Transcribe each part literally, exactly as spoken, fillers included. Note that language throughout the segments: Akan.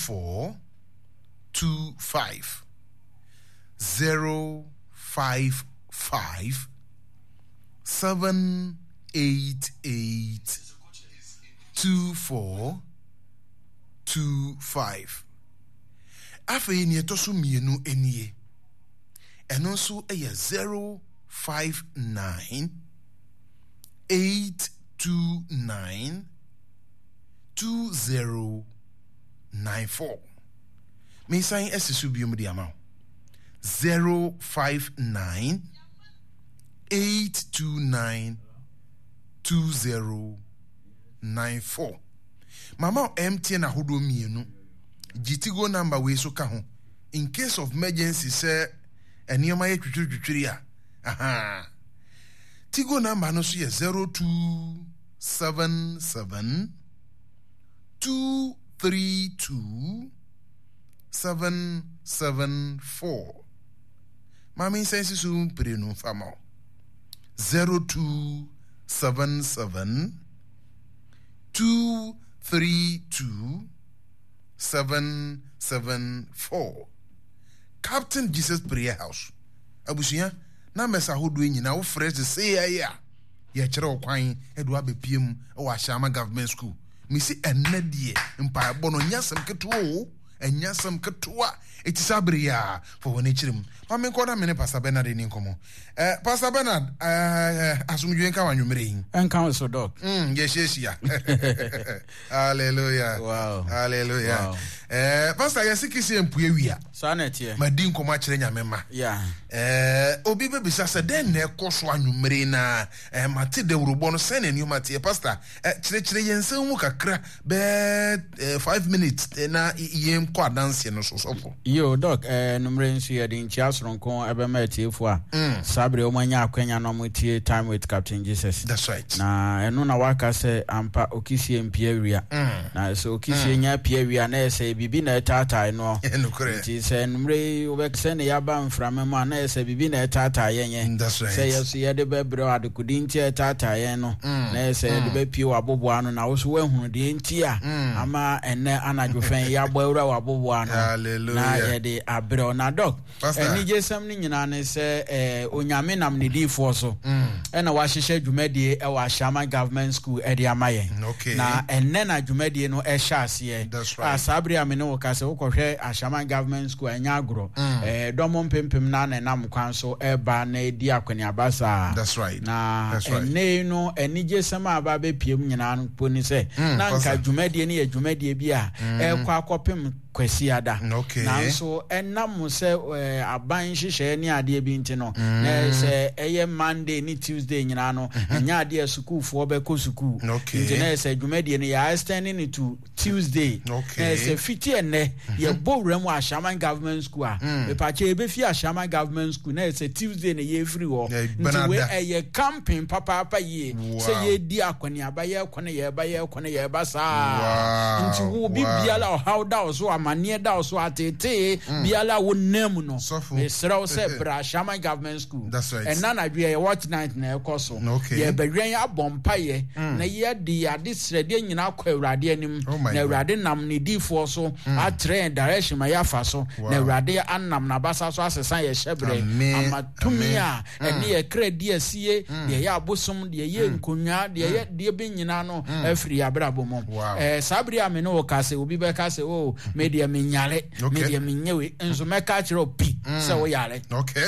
four two five zero five five seven eight eight two four two five. Afei nea ɛtɔ so mmienu nie. Ɛno nso yɛ zero five nine eight two nine two zero nine four. Mesan asi so biom de ama wo. Zero five nine eight two nine two zero nine four. Mama wo M T N ahodoɔ mmienu. Gye Tigo number wei so ka ho. In case of emergency sɛ nneɛma yɛ twitwiri twitwiri a. Aha. Tigo number no so yɛ zero two seven seven two three two seven seven four. Maame nsan si so mprenu mfa ma wo. zero two seven seven two three two seven seven four. Captain Jesus Prayer House. Abusua, numbers ahodoɔ nyinaa wofrɛ sesei ayɛ a yɛkyerɛ wo kwan de wabɛpie mu wɔ Ahyɛama Government School. Mesi ɛnnɛ deɛ mpaebɔ no nyɛ asɛm ketewa o, ɛnyɛ asɛm ketewa. Eti saa bere yi a fa wɔn akyiri mu. Ma menkɔ na me ne Pastor Bernard ni nkɔmmɔ. Eh, Pastor Bernard, eh, asomdwoe nka w'anwummerɛ yi. Ɛnka wo so, Doc. Mm, yɛhyiahyia. Hallelujah. Wow. Hallelujah. Wow. Eh, Pastor, yɛse kisi mpue wia. Saa na ɛteɛ. Madi nkɔmmɔ akyerɛ Nyame ma. Yeah. Eh, obi bɛbisa sɛ dɛn na ɛkɔ so anwummerɛ yi na eh, mate dawurobɔ no sɛn na nneɛma teɛ. Pastor, eh, kyerɛkyerɛ yɛn nsɛm mu kakra bɛɛ eh, five minutes eh, na yɛn kɔ adanseɛ no so sɔfo. Yo, Doc, eh, numere nso yɛde nkyia soronko ɛbɛma atiefo a mm. saa bere wɔn anya akwanya na wɔn tie Time with Captain Jesus. That's right. Na ɛno na waka sɛ ampa okisie mpia wia. Mm. Na sɛ okisie mm. nya pia wia na ɛsɛ biribi na ɛtaatae no. Nti sɛ numere yi wɔbɛsɛ ne yaba mframa mu a na ɛsɛ biribi na ɛtaataa yɛn yɛn. That's right. Sɛ yɛ so yɛde bɛbrɛ adekode nti a ɛtaataa yɛn no. Mm. Na ɛsɛ yɛde mm. bɛpie wɔ aboboa ano na wo so woahunu deɛ nti a mm. ama ɛnɛ anadwo fɛn yɛabɔ awura wɔ aboboa ano na yɛde abrɛ wo. Na dɔk, anigyesɛm no nyinaa ne sɛ eh, Onyame nam ne diifoɔ so ɛna wahyehyɛ dwumadie ɛwɔ Ashaiman Government School ɛde ama yɛn. Okay. Na ɛnɛ na dwumadie no ɛhyɛ aseɛ. That's right. A saa bere a me ne wo ka sɛ wokɔhwɛ Ashaiman Government School a ɛnyɛ agorɔ. Eh, dɔm mpempem na na ɛnam kwan so ɛba na ɛdi akɔneaba saa. That's right. Na That's right. ɛnɛ yi no anigyesɛm a aba abɛpie mu nyinaa no mpo ne sɛ Mm, na nka Pastor. dwumadie no yɛ dwumadie bi a ɛrekɔ akɔpem Kwasiada. Okay. Nanso ɛnam sɛ eh, aban nhyehyɛeɛ ne adeɛ bi nti no, na sɛ ɛyɛ Monday ne Tuesday nyinaa no, ɛnyɛ adeɛ a sukuufoɔ bɛkɔ sukuu. Okay. Nti na sɛ dwumadie no yɛ extend no to Tuesday. Okay. Na sɛ fiti ɛnnɛ yɛbɔ wura mu Ashaiman Government School a, mepakyɛ yɛbɛfi Ashaiman Government School na sɛ Tuesday na yɛfiri hɔ. Yeah, Nti wei Benada. ɛyɛ camping papaapa yie. Wow. Sɛ yɛdi akɔneaba, yɛkɔ no yɛba, yɛkɔ no yɛba saa. Wow. Nti wo obi Wow. biara ɔhaw da wo so, amanneɛ da wo so, ateetee biara wo nam no. Sɔfo. Mesrɛ wo sɛ bra Ashaiman Government School. That's right. Ɛna anadwo yɛyɛ watch night na ɛkɔ so. Okay. Yɛbɛwɛn abɔ mpaeɛ na yɛde yɛn adesrɛdeɛ nyinaa kɔ Awurade anim. Oh my Na God. Awurade nam ne diifoɔ so akyerɛ yɛn direction ma yɛafa so. Wow. Na Awurade anam n'abasa so asesa yɛn hyɛberɛ. Amen. Ama tumi Amen. a ɛne yɛ kra di asie, deɛ ɛyɛ abosom, deɛ ɛyɛ nkonnwa, deɛ ɛyɛ deɛ bi nyinaa no afiri yɛn abrabɔ mu. Wow. Eh, saa bere a me ne wo ka sɛ obi bɛka sɛ o me deɛ menyare, me Okay. deɛ menyɛ wei, nso mɛka akyerɛ wo pi sɛ woyare. Okay.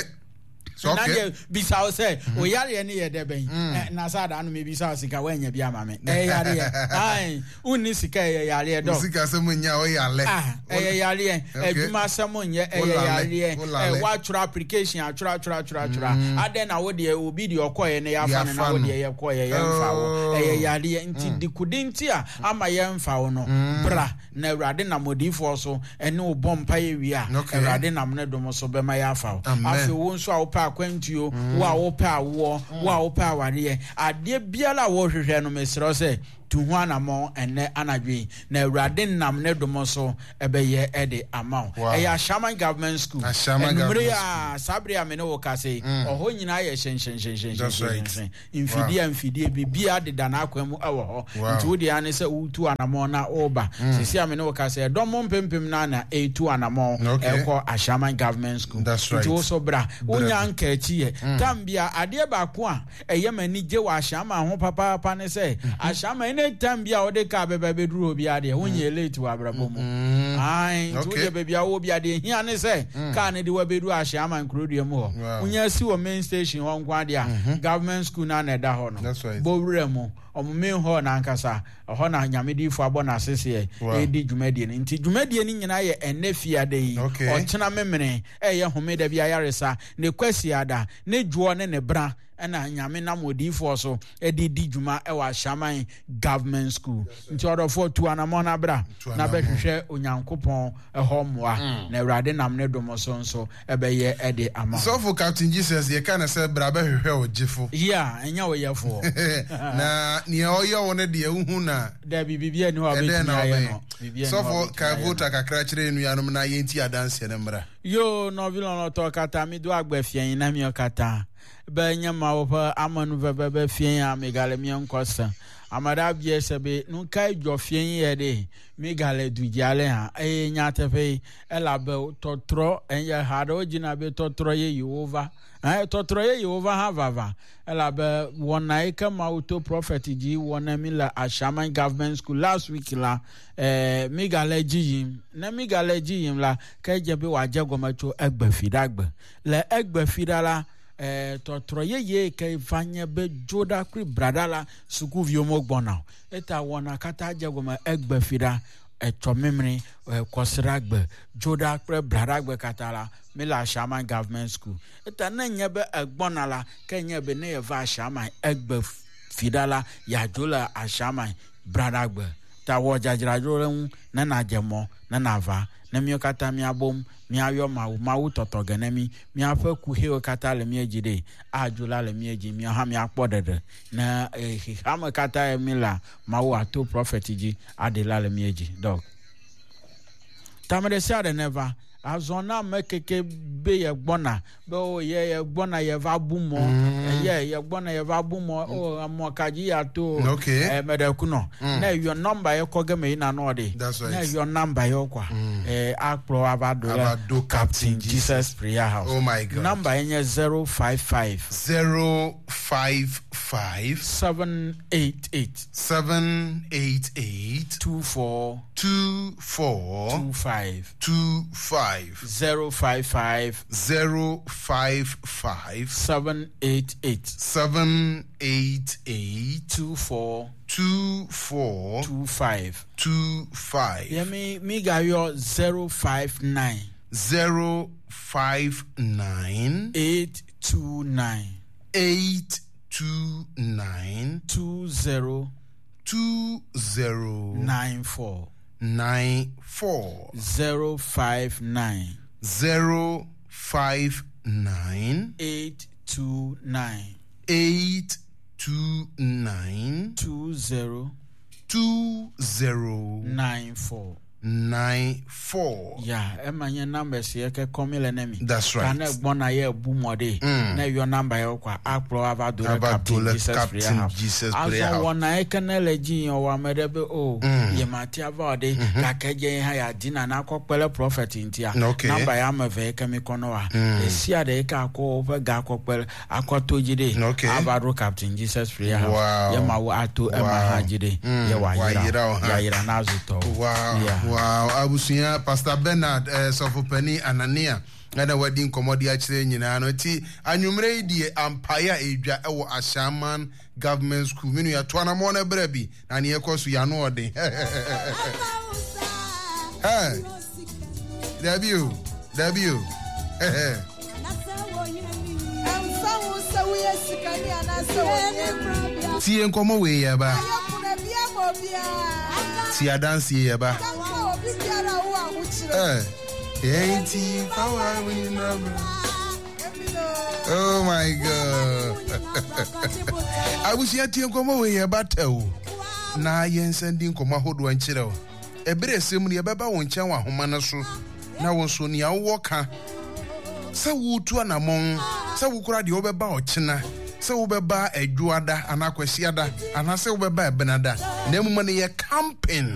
So, Na okay. deɛ bisa wo sɛ oyareɛ no yɛ dɛ bɛn? Eh, na saa da no mebisa wo sika woanya bi ama me. Ɛyɛ yareɛ. Ae, wonni sika ɛyɛ yareɛ dɔ. Sika sɛ mo nya oyale. Ah, ɛyɛ yareɛ. Okay. Adwuma asɛm nyɛ ɛyɛ Wolale, yareɛ. wolale. Eh, woatwerɛ application atwerɛ atwerɛ atwerɛ atwerɛ. Adɛn na wo deɛ obi deɛ ɔkɔɛ no yɛafa no na Yɛafa wo no. deɛ yɛkɔɛ yɛmfa wo. Oh. Ɛyɛ yareɛ. Nti dekode nti a ama yɛmfa wo no, bra na Awurade nam odiyifoɔ so ɛne wo bɔ mpaeɛ wie a, Okay. Awurade nam ne dom so bɛma yɛafa wo. Amen. Afei wo nso a wopɛ akwantuo, wo a wopɛ awoɔ, wo a wopɛ awareɛ, adeɛ biara a wohwehwɛ no, mesrɛ wo sɛ Tu ho anammɔn ɛnnɛ anadwo yi, na Awurade nam ne dom so ɛbɛyɛ ɛde ama wo. Ɛyɛ Ashaiman Government School. Anwummere a saa bere a me ne wo kasa yi, ɔhɔ nyinaa yɛ hyɛnhyɛnhyɛnhyɛnhyɛnhyɛn. Mfidie a mfidie biribiara deda n'akwan mu ɛwɔ hɔ. Nti wo deɛ ne sɛ wotu anammɔn na woba. Sisi a me ne wo kasa yi, ɛdɔm mpempem na na ɛretu anammɔn ɛkɔ Ashaiman Government School. Nti wo so bra. Wonya nka akyi yɛ. Tam bia adeɛ baako a ɛyɛ m'ani gye wɔ Ashaiman ho papaapa ne sɛ Ashaiman any time bi a wode kaa bɛba bɛduru hɔ biara deɛ wonyɛ late wɔ abrabɔ mu. Ae, nti wodeɛ baabi a wowɔ biara deɛ hia ne sɛ kaa no de wabɛduru Ashaiman kurodua mu hɔ. Wonya si wɔ main station hɔ nko adeɛ a government school no na ɛda hɔ no. Bɔ wura mu, ɔmo main hall no ankasa, ɛhɔ na Nyame diifo abɔ n'aseseɛ ɛredi dwumadie no. Nti dwumadie no nyinaa yɛ ɛnnɛ fiada yi, ɔkyena memene, ɛyɛ homeda bi ayaresa, ne kwasiada, ne dwoɔ ne ne bra ɛna Nyame nam odiyifoɔ so ɛde di dwuma ɛwɔ Ashaiman Government School. Nti ɔdɔfoɔ tu anammɔn na bra na bɛhwehwɛ Onyankopɔn ɛhɔ mmoa, na Awurade nam ne dom so nso ɛbɛyɛ ɛde ama. Sɔfo Captain Jesus yɛka ne sɛ bra bɛhwehwɛ ɔgyefo. Yeah, ɛnyɛ ɔyɛfoɔ. Na nea ɔyɛ wo no deɛ wohu na dabi biribi ani hɔ a wobɛtumi ayɛ no. Sɔfo ka vota kakra kyerɛ nnuanom na yɛnti adanseɛ no mmra. Yo, nɔvi lɔlɔtɔ kata mi do agbe fiɛn na miɔ kata be nye Mawu ƒe amenuveve be fiɛn ya migale mía ŋkɔ se. Ame ɖe abia se be nu kae dzɔ fiɛn yɛ ɖe migale du dzi ale hã eye nyateƒe elabe tɔtrɔ eye ha ɖewo dzina be tɔtrɔ yeyewo va. Eh, tɔtrɔ yeyewo va hã vava elabe wɔna yi ke Mawu to prophet dzi wɔ ne mi le Ashaiman Government School last week la, eh, migale dzi yim. Ne migale dzi yim la, ke dze be wòadze gɔme tso egbe fi ɖa gbe. Le egbe fi ɖa la, eh, tɔtrɔ yeye ke va nye be dzo ɖa kple braɖa la, sukuviwo mo gbɔna o. Eta wɔna katã dze gɔme egbe fi ɖa, etsɔ mimri, kɔsiɖa gbe, dzo ɖa kple braɖa gbe katã la, mi le Ashaiman Government School. Eta ne nye be egbɔna la, ke nye be ne yeva Ashaiman egbe fi ɖa la, yadzo le Ashaiman braɖa gbe. Ta wɔ dzadzraɖo ɖe ŋu ne nadze mɔ, ne nava, ne míawo katã míabom, míayɔ Mawu, Mawu tɔtɔ ge ne mí, míaƒe kuxiwo katã le mía dzi ɖe, adzo la le mía dzi, míawo hã míakpɔ ɖeɖe. Ne xexeame katã ye mí la, Mawu ato prophet dzi aɖe la le mía dzi. Dɔg. Tame ɖe sia ɖe ne va, azɔ na ame keke be ye gbɔna, be o ye ye gbɔna ye va bu mɔ, ye ye gbɔna ye va bu mɔ, o mɔ ka dzi ya to, eh, me ɖe kunɔ. Ne yɔ nɔmba ye kɔ ge me yina nɔ ɖe. Ne yɔ nɔmba ye kɔa, eh, akplɔ ava do le Captain Jesus Prayer House. Oh my God. Nɔmba ye nye zero five five. Zero five five. Seven eight eight. Seven eight eight. Two four. Two four. Two five. Two five. Zero five five. Zero five five. Seven eight eight. Seven eight eight. Two four. Two four. Two five. Two five. Yeah, me, me got your zero five nine. Zero five nine. Eight two nine. Eight two nine. Two zero. Two zero. Nine four. Nine four. Zero five nine. Zero five nine. Eight two nine. Eight two nine. Two zero. Two zero. Nine four. Nine four. Yeah, Emma, your numbers here can come in enemy. That's right. Can I born a year boom or day? Na your number kwa akpro ava do Captain Jesus Prayer House. Jesus Prayer Azɔ House. wɔna ekene le dzi yɔ wa me ɖe be o ye ma ti ava o de gake dze hã ya di na na kɔ kpe ɖe prophet ŋutia. Okay. Namba ya ame eve ke mi kɔ nɔ wa. Esia ɖe ke akɔ woƒe ga akɔ kpe akɔ to dzi ɖe. Okay. Ava ɖo Captain Jesus Prayer House. Wow. Ye ma wo ato ema Wow. hã dzi ɖe. Ye wa Wayira yira wo hã. Yayira na zu tɔwo. Wow. Yeah. Wow. Abusua Pastor Bernard eh, Sɔfopani Anania ɛna wadi nkɔmmɔ de akyerɛ nyinaa no nti anwummerɛ yi deɛ ampaeɛ a ɛdwa ɛwɔ Ashaiman Government School. Me nua to anammɔn no berɛ bi na neɛ ɛkɔ so yɛano ɔden. Hey. Dabi o, dabi o. Tie nkɔmmɔ wei yɛ ba. Tie adanseɛ yɛ ba. Eh, enti power we love. Oh my God. Abusua tie nkɔmmɔ wei yɛ ba tɛ o. Na yɛnsan di nkɔmmɔ ahodoɔ nkyerɛ wo. Ɛberɛ a ɛsɛ mu no, yɛbɛba wo nkyɛn wɔ ahoma no so, na wo nso nea wowɔ ka, sɛ woretu anammɔn, sɛ wokora deɛ wobɛba ɔkyena, sɛ wobɛba Adwoada anaa Kwasiada, anaasɛ wobɛba Ɛbenada, na mmom no yɛ camping.